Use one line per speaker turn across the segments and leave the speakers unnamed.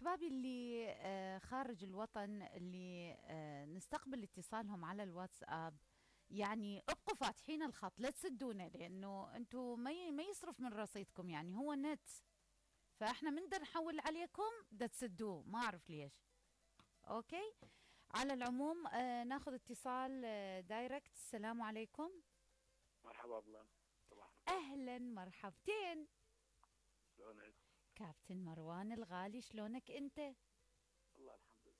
أحبابي اللي خارج الوطن اللي نستقبل اتصالهم على الواتساب. يعني ابقوا فاتحين الخط، لا تسدونا، لأنه أنتوا ما يصرف من رصيدكم، يعني هو نت. فإحنا من دا نحول عليكم دا تسدوه، ما أعرف ليش. أوكي. على العموم ناخذ اتصال دايركت. السلام عليكم.
مرحبا بالله. صباح الخير.
أهلا مرحبتين.
شلونك؟
كابتن مروان الغالي، شلونك أنت؟
والله الحمد لله.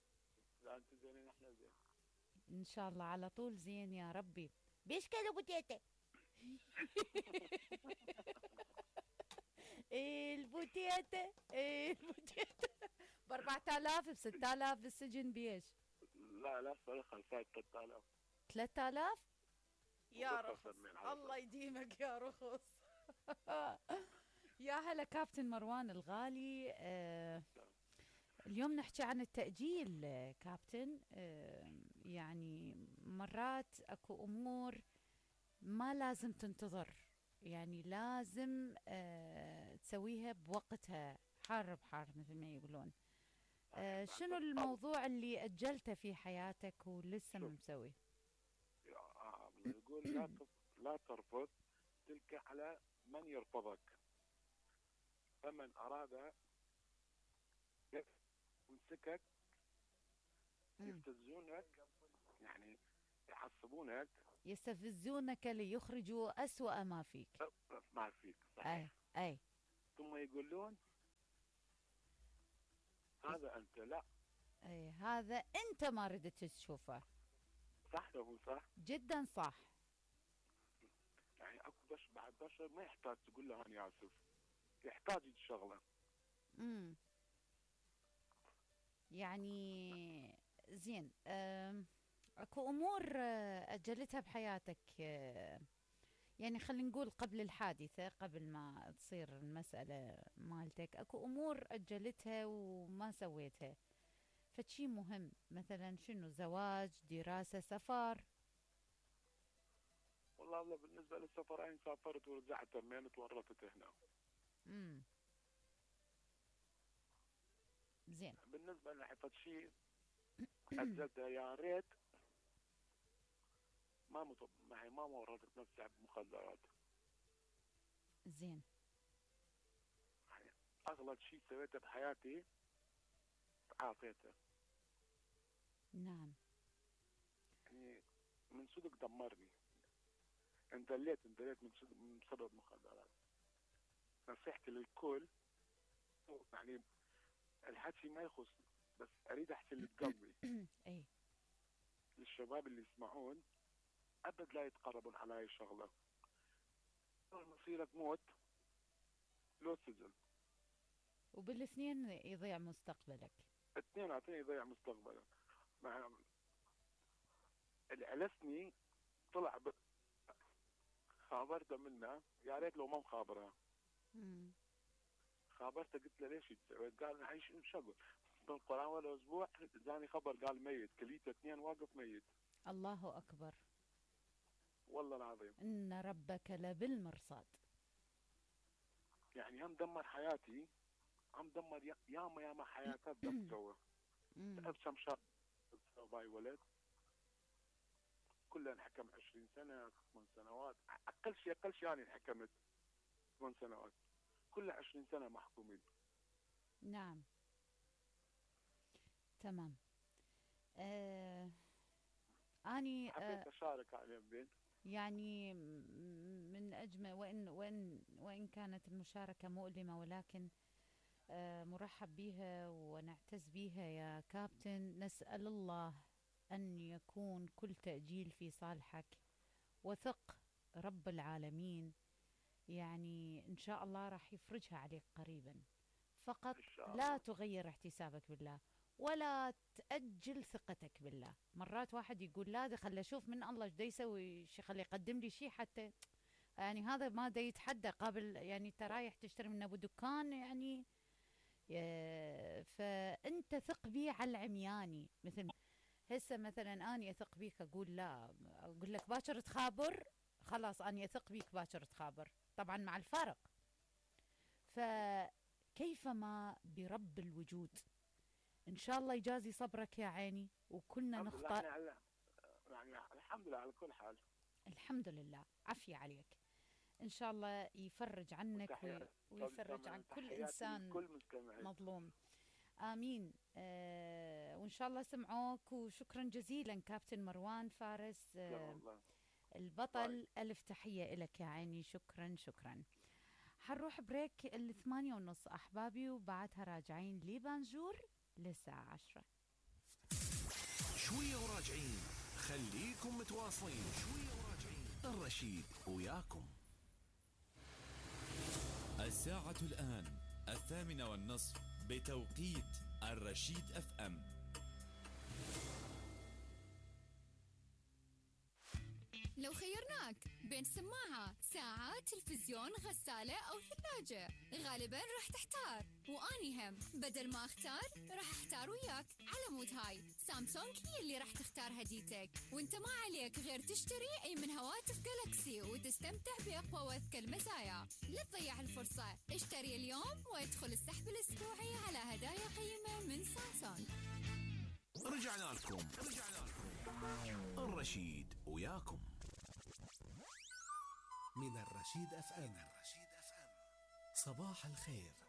اذا انتم زينين احنا زين.
ان شاء الله على طول زين يا ربي. بيشكل ابو تيتا. ايه البوتيتا، ايه البوتيتا. ب 4000 ب 6000 بالسجن بيش؟
لا لا فرق الفايت 3000.
3000 يا
وبكرة
رخص.
سلمين على
الله يديمك يا رخص. يا هلا كابتن مروان الغالي. اليوم نحكي عن التأجيل كابتن. يعني مرات اكو امور ما لازم تنتظر، يعني لازم تسويها بوقتها، حار بحار مثل ما يقولون. شنو الموضوع اللي أجلته في حياتك ولسه ما مسوي؟
يقول لا ترفض تلك على من يرفضك، فمن أراد يمسكك يفتزونك، يعني يحسبونك،
يستفزونك ليخرجوا أسوأ ما فيك.
ما فيك صحيح.
أي
ثم يقولون هذا أنت، لا
أي هذا أنت ما ردت تشوفه.
صح ولا مو صح؟
جدا صح.
يعني اكو بعد بشر ما يحتاج تقول له انا اسف، يحتاج الشغله.
يعني زين. اكو امور اجلتها بحياتك، يعني خلينا نقول قبل الحادثه، قبل ما تصير المساله مالتك، اكو امور اجلتها وما سويتها، فشي مهم مثلا شنو؟ زواج، دراسه، سفر؟
والله بالنسبه للسفرين سافرت ورجعت، تمين تورطت هنا.
زين.
بالنسبه لحفظ شيء اجلته، يا ريت ما ورطت نفسي بمخدرات.
زين.
يعني اغلط شيء سويته بحياتي عافيته.
نعم.
يعني من صدق دمرني، اندليت من سبب مخدرات. نصيحتي للكل، يعني الحكي ما يخص، بس اريد احكي اللي بقلبي.
اي
للشباب اللي يسمعون، ابد لا يتقربون على هاي الشغله. مصيرك موت لو سجن،
وبالاثنين يضيع مستقبلك.
اثنيناتهم يضيع مستقبلك. مع اللي علسني طلع خابرته منه، يا ريت لو ما مخابرها. خابرته قلت له ليش تسوي؟ قال هاي شغل بالقران ولا اسبوع جاني خبر قال ميت، كليته 2 واقف ميت.
الله اكبر.
والله العظيم
ان ربك لبالمرصاد.
يعني هم دمر حياتي، هم دمر ياما حياتات دمروا. ابسم شاب باي ولد كله انحكم 20 سنه 8 سنوات، اقل شيء انا انحكمت 8 سنوات، كله 20 سنه محكومين.
نعم تمام. اني
حبيت اشارك على بين،
يعني من اجمل، وان كانت المشاركه مؤلمه، ولكن مرحب بها ونعتز بها يا كابتن. نسأل الله أن يكون كل تأجيل في صالحك، وثق رب العالمين يعني إن شاء الله راح يفرجها عليك قريبا. فقط لا تغير احتسابك بالله، ولا تأجل ثقتك بالله. مرات واحد يقول لا ده خلي أشوف من الله ايش دا يسوي، خلي يقدم لي شيء حتى، يعني هذا ما دا يتحدى قابل، يعني انت رايح تشتري من ابو دكان، يعني فانت ثق بي على العمياني. مثل هسه مثلا اني اثق بيك، اقول لا، اقول لك باكر تخابر، خلاص اني اثق بيك باكر تخابر، طبعا مع الفارق. فكيفما برب الوجود إن شاء الله يجازي صبرك يا عيني، وكلنا
الحمد لله.
نخطأ.
احنا يعني الحمد لله على كل حال.
الحمد لله، عافية عليك. إن شاء الله يفرج عنك ويفرج عن كل
تحياتي
إنسان
لكل مستمع.
مظلوم. آمين. وإن شاء الله سمعوك. وشكرا جزيلا كابتن مروان فارس، البطل. ألف تحية إلك يا عيني. شكرا شكرا. حنروح بريك 8:30 أحبابي، وبعدها راجعين لبانجور للساعة 10.
شوية وراجعين، خليكم متواصلين. شوية وراجعين، الرشيد وياكم.
الساعة الآن 8:30 بتوقيت الرشيد FM.
لو خيرناك بين سماعة، ساعة، تلفزيون، غسالة أو ثلاجة، غالباً راح تحتار. وأني هم بدل ما أختار راح أحتار وياك. على مود هاي سامسونج هي اللي راح تختار هديتك، وانت ما عليك غير تشتري أي من هواتف جالاكسي وتستمتع بأقوى وأذكى المزايا. لا تضيع الفرصة، اشتري اليوم وادخل السحب الأسبوعي على هدايا قيمة من سامسونج.
رجعنا لكم الرشيد وياكم
من الرشيد FM. صباح الخير.